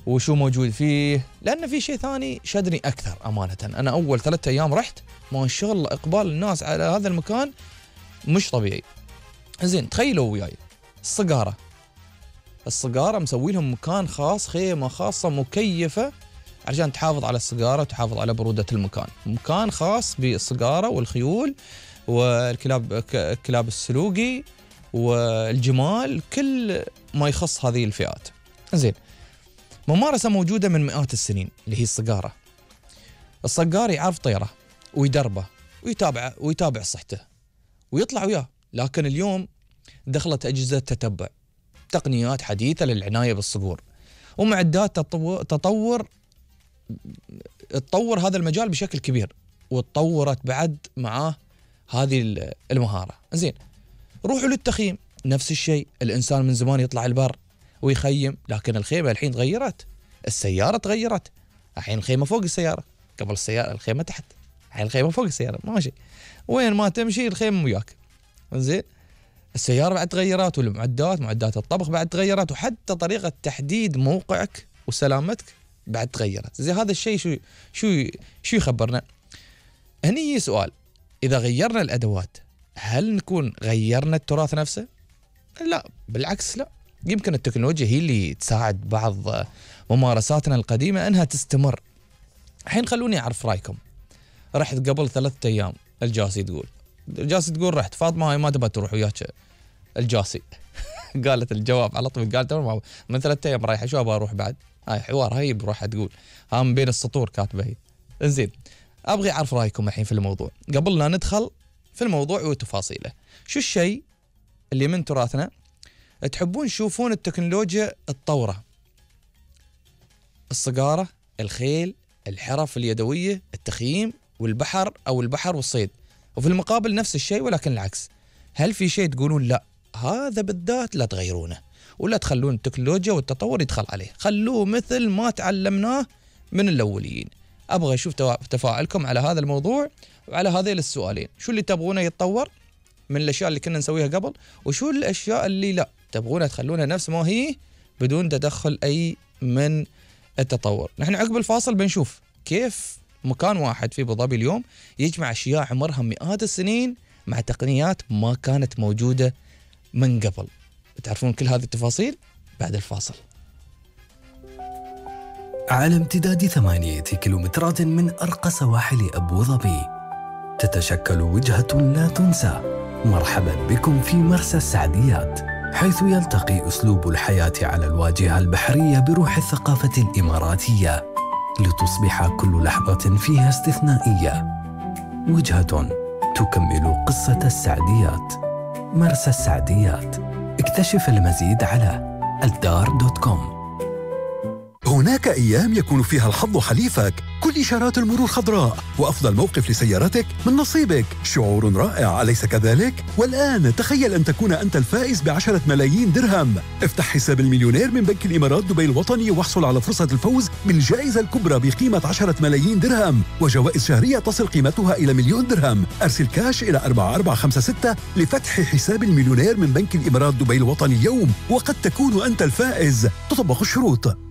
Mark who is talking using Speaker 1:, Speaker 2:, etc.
Speaker 1: وشو موجود فيه، لأن في شيء ثاني شدني أكثر أمانة. أنا أول 3 أيام رحت ما شاء الله إقبال الناس على هذا المكان مش طبيعي. زين تخيلوا وياي الصقارة مسوي لهم مكان خاص، خيمة خاصة مكيفة عشان تحافظ على الصقارة وتحافظ على برودة المكان. مكان خاص بالصقارة والخيول والكلاب السلوقي والجمال، كل ما يخص هذه الفئات. زين ممارسة موجودة من مئات السنين اللي هي الصقارة. الصقار يعرف طيره ويدربه ويتابع صحته ويطلع وياه. لكن اليوم دخلت أجهزة تتبع، تقنيات حديثة للعناية بالصقور، ومعدات تطور هذا المجال بشكل كبير، وتطورت بعد معاه هذه المهارة. زين روحوا للتخييم، نفس الشيء. الإنسان من زمان يطلع البر ويخيم، لكن الخيمة الحين تغيرت، السيارة تغيرت، الحين الخيمة فوق السيارة، قبل السيارة الخيمة تحت، الحين الخيمة فوق السيارة، ماشي وين ما تمشي الخيمة وياك. زين السيارة بعد تغيرت، معدات الطبخ بعد تغيرت، وحتى طريقة تحديد موقعك وسلامتك بعد تغيرت. زي هذا الشيء شو يخبرنا؟ هني سؤال، إذا غيرنا الأدوات هل نكون غيرنا التراث نفسه؟ لا بالعكس، لا. يمكن التكنولوجيا هي اللي تساعد بعض ممارساتنا القديمة أنها تستمر. الحين خلوني أعرف رأيكم. رحت قبل 3 أيام الجاسي تقول رحت فاطمة هاي ما تبى تروح وياك الجاسي قالت الجواب على طول، قالت من 3 أيام رايحة شو أبغى أروح بعد؟ هاي حوار هاي بروحها تقول من بين السطور كاتبة هي. إنزين أبغي أعرف رأيكم الحين في الموضوع قبل لا ندخل في الموضوع وتفاصيله. شو الشيء اللي من تراثنا تحبون تشوفون التكنولوجيا التطورة؟ الصقارة، الخيل، الحرف اليدوية، التخييم والبحر أو البحر والصيد. وفي المقابل نفس الشيء ولكن العكس. هل في شيء تقولون لا هذا بالذات لا تغيرونه ولا تخلون التكنولوجيا والتطور يدخل عليه، خلوه مثل ما تعلمناه من الأولين؟ أبغى أشوف تفاعلكم على هذا الموضوع وعلى هذين السؤالين. شو اللي تبغونه يتطور من الأشياء اللي كنا نسويها قبل، وشو الأشياء اللي لا تبغونها تخلونها نفس ما هي بدون تدخل أي من التطور. نحن عقب الفاصل بنشوف كيف مكان واحد في أبو ظبي اليوم يجمع أشياء عمرها مئات السنين مع تقنيات ما كانت موجودة من قبل. بتعرفون كل هذه التفاصيل بعد الفاصل.
Speaker 2: على امتداد 8 كيلومترات من أرقى سواحل أبو ظبي تتشكل وجهة لا تنسى. مرحبا بكم في مرسى السعديات، حيث يلتقي أسلوب الحياة على الواجهة البحرية بروح الثقافة الإماراتية، لتصبح كل لحظة فيها استثنائية. وجهة تكمل قصة السعديات. مرسى السعديات، اكتشف المزيد على الدار.com.
Speaker 3: هناك أيام يكون فيها الحظ حليفك، كل إشارات المرور خضراء، وأفضل موقف لسيارتك من نصيبك. شعور رائع أليس كذلك؟ والآن تخيل أن تكون أنت الفائز ب10 ملايين درهم. افتح حساب المليونير من بنك الإمارات دبي الوطني واحصل على فرصة الفوز بالجائزة الكبرى بقيمة 10 ملايين درهم، وجوائز شهرية تصل قيمتها إلى 1,000,000 درهم. أرسل كاش إلى 4456 لفتح حساب المليونير من بنك الإمارات دبي الوطني اليوم، وقد تكون أنت الفائز. تطبق الشروط.